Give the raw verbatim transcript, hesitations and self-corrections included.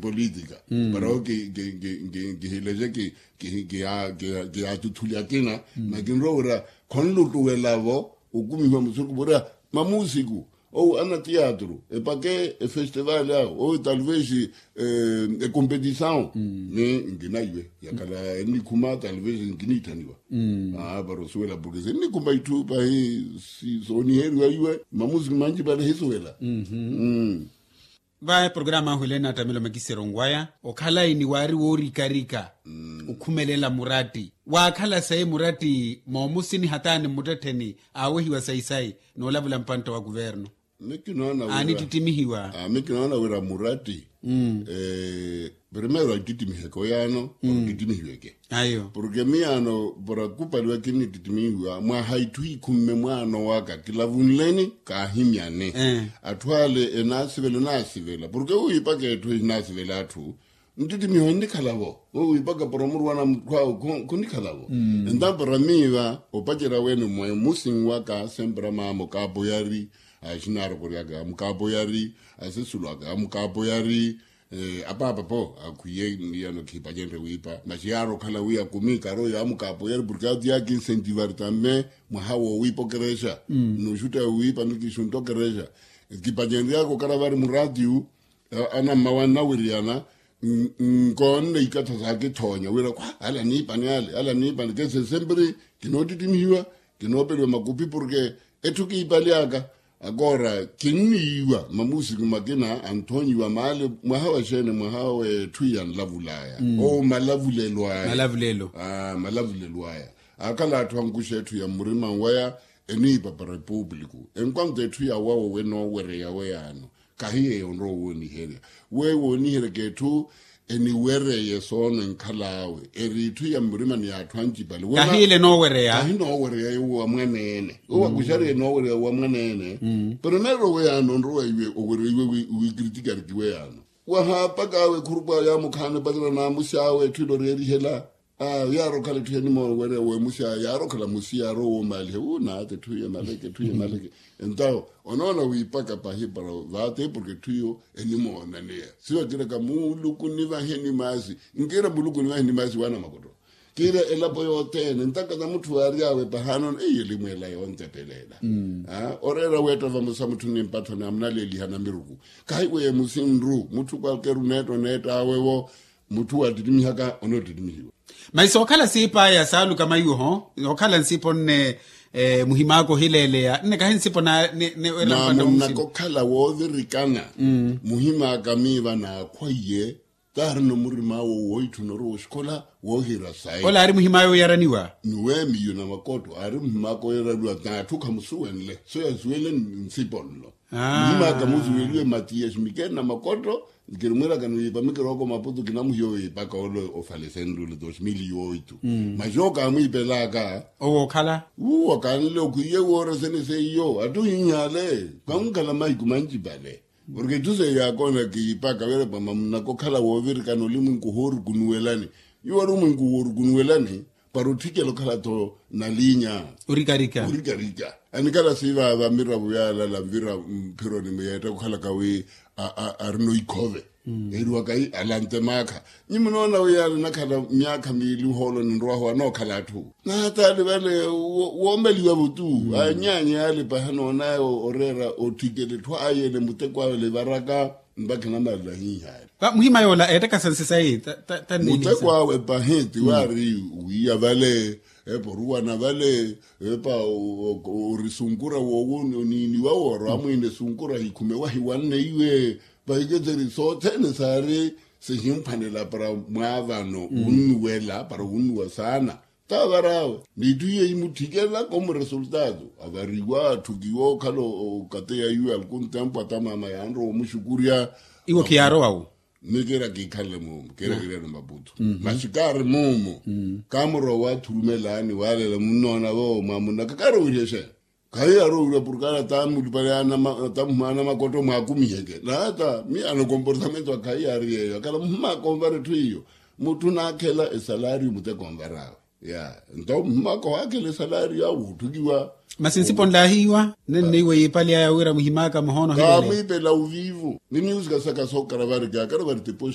polítika. Para o kihileje kiyaatuthuli akina, na kinrowa wira khonlutuwela-vo okumihiwa musuku vurya mamusiku, ou ana tiyatru epake efestivali awo ou talvez ekompetisaw. Ni nkinaiwe yakhala ennikhuma talvez nkiniithaniwa. Para osuwela porke sinnikhuma itthu pahi sooniheriwa iwe mamusiku manci vale hisuwela. Vayi programa ahu elena attamelo makisero nwaya okhalayi ni waari woorikarika okhumelela muratti waakhala sayi muratti moomusini hataani mmuttettheni aawehiwa sayi-sayi noolavula mpantta wa kuvernu. Aani ttittimihiwa. Mi kinoona wira muratti primeiro attittimihiweke oyaano. Ttittimihiweke porke miyaano para kupaliwa kinnittittimihiwa mwaha itthu iikhumme mwaano waka kilavunleni kaahimyane. Atthu ale enaasivela enaasivela porke wiipaka etthu ehinaasivela atthu nttittimihiwa nnikhala-vo. Wiipaka para omuruwana mutthwaawe khunnikhala-vo. Entampara miiva opacerya wene mwemusi nwaka sempera maama okaapoyari axinaarokoryaka amukaapoyari asesulu aka amukaapoyari. Apaapa-po akhwiye niyano khiipacenrye wiipa masi yaari okhala wi akumi karoyo amukaapoyari porke ati yaakinsentivari tambe mwaha woowiipa okerexa. Nnuxutta wiipa nikixuntta okerexa kipacenryaka okaravari muratiu. Anammawa nnawiriyana nkoonne ikatha saakithoonya wira khwa ala niipani ale ala niipani kese semperi kinoottittimihiwa kinoopeliwa makupi porke etthu kiipaly'aka. Akoora kinniiwa mamusiku makina anthoonyiwa maale mwaha wa xeene mwaha w'etthu iya nlavul'aya. Owo malavulelo aya. Malavulelo aya akhala atthu ankuxa etthu ya mmurima nwaya eniipa para epuupuliku enkwanta etthu yawawo wenoowereya weyaano. Kahi yeeyo onrowa owooniherya weyo wooniheryaka etthu eniwereye soono enkhal'awe eri itthu ya mmurimani y'atthu ancipale. Kahiile enoowereya kahi enoowereya yo wa mwaneene owakuxariye enoowereya wa mwaneene. Pero neero weyaano onrowa iwe owereiwe wiikiritikariki weyaano wahaapak'awe ekhurup'awe yaamukhaana epatela n'amusi awe etthu ilo oreerihela. Yaari okhala etthu yanimoona wereya wemusi awe yaari okhala musi yaari owoomaaliha wu naata etthu iyo emaleke etthu iyo emaleke. Entawo onoona wiipaka pahi para vaate porke etthu iyo enimoonaneya siwakiraka muluku nivahe nimaasi. Nkiira muluku nivahe nimaasi waana makotto kiira elapo yothene ntaka na mutthu waary'awe pahaanono eiyo elimweela yontepelela. Oreera weetta vamosa mutthu nimpatthoni amunaleeliha namiruku kahi weemusi nru mutthu kwalkeru neetta oneett'awe-wo. Mutthu waattittimiha ka onoottittimihiwa. Masi sookhala siip'aya saaluka maiwoho sookhala nsipo nne muhim'aka ohileeleya nne kahi nsipo na nne weera mpanda omusini. Naamunnaka okhala woovirikana muhim'aka miiva naakhwaiye taarina omurim'awe wooitthuna orowa oxikola woohira sayi. Ola aari muhim'aya oyaraniwa. Ni weemiyo na makotto aari muhim'aka oyaraniwa n'atthu khamusuwenle so yasuwenle nsipo nlo. Muhim'aka musuweliwe matiyasi mikene na makotto. Kirimwiiraka ni wiipa mikirooko maputu kinamuhiya owiipaka ole ofalesenrule dos mil yooitu. Masi okaamwiipelaka owo okhala wuwo kaanle okhwiye woora sene seiyo attuhiihale. Kankhala mahiku mancipale porke etthu seiyo yaakoona kiipaka wira pama munnaka okhala woovirikana olimwenku ohoorukunuwelani. Iwo ari omwenku woorukunuwelani para otthikela okhala-tho na liinya orikarika. Anikhala siivaava miravo yaalala mphironi muyeetta okhalaka wi arina oikhove. Eriwaka alante maakha nyi munoona wi yaala enakhala myaakha miili ohoolo ninrwaho anookhala atthu naataali vale woomeliwa-vo tu. Anyaanya yaale pahi anoonaya oreera otthikela etthu aayele muteko awe livaraka. Mpakha enamala hihale muhima yoola eettakasa nsi sayi. Muteko awe pahi ti waari wiiya vale epa oruwana vale epa orisunkura woowuniiniwa woora amwiina esunkura hikhume wahiwanne iwe. Vahiketeri sothene saari sihimphwanela para mwaavano wunnuwela para wunnuwa saana. Taavar'awe n'itthu iye yimutthikela komu resultado avariwa atthukiwa okhala okateya iwe alkun tempu atamaama yaanrowa omuxukurya. Iwo khiyaarowa wu ni kiira kiikhanle muumu kiira kiriya ni maputu. Masi kaari muumu kaamurowa waathurumelaani waalela munnoona voowo mwaamunnaka kaari owiryexeya. Khayi yaari owirya porke ale ataamulupale atamuhuma anamakotto mwaakumiheke naata mi anokomportamento akhayi yaari yeeyo akhala muhuma akonvara etthu iyo. Mutthu naakhela esalario muteko onvar'awe ya nto muhim'aka ohaakhela esalario awe wootthukiwa. Masi nsipo nlaahiiwa nenne iwe yiipali aya wira muhim'aka muhoono ohileele kaamwiipela oviivu ni miusika saka sookaravari kaakaravari.